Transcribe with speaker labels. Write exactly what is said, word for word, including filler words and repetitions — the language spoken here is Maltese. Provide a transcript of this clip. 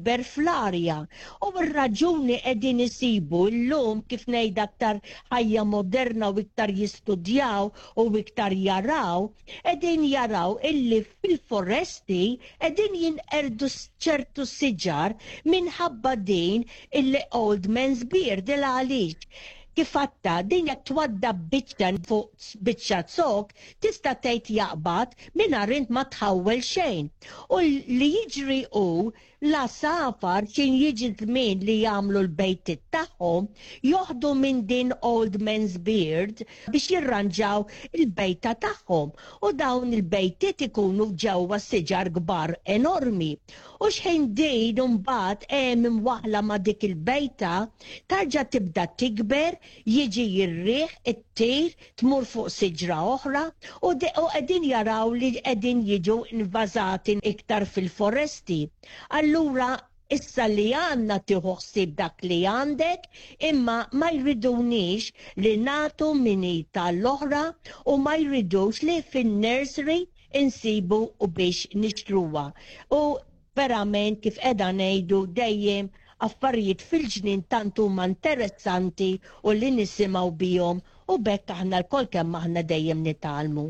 Speaker 1: Tikber fl-arja. U r-raġuni qegħdin isibu llum, kif ngħid, aktar ħajja moderna u iktar jistudjaw u iktar jaraw, qegħdin jaraw illi fil-foresti qegħdin jinqerdu ċertu siġar minħabba din illi old man's beard. Il għaliex, kif għedta, din jekk twaddab biċċa fuq biċċa zokk, tista' tgħid jaqbad mingħajr int ma tħawwel xejn. U li jiġri hu l-għasafar, x'ħin jiġi żmien li jagħmlu l-bejtiet tagħhom, joħdu minn din old man's beard biex jirranġaw il-bejta tagħhom. U dawn il-bejtiet ikunu ġewwa siġar kbar enormi. U x'ħin din mbagħad hemm imwaħla ma' dik il-bejta, tarġa' tibda tikber, jiġi r-riħ, ittir, tmur fuq siġra oħra u qegħdin jaraw li qegħdin jiġu invażati iktar fil-foresti. Allura issa li għandna, tieħu ħsieb dak li għandek, imma ma jridunix li nagħtu min tal-oħra u ma jridux li fin-nursery insibu u biex nixtruha. U verament, kif qegħda ngħidu dejjem, affarijiet fil-ġnien tant huma interessanti u li nisimgħu bihom u b'hekk aħna lkoll kemm aħna dejjem nitgħallmu.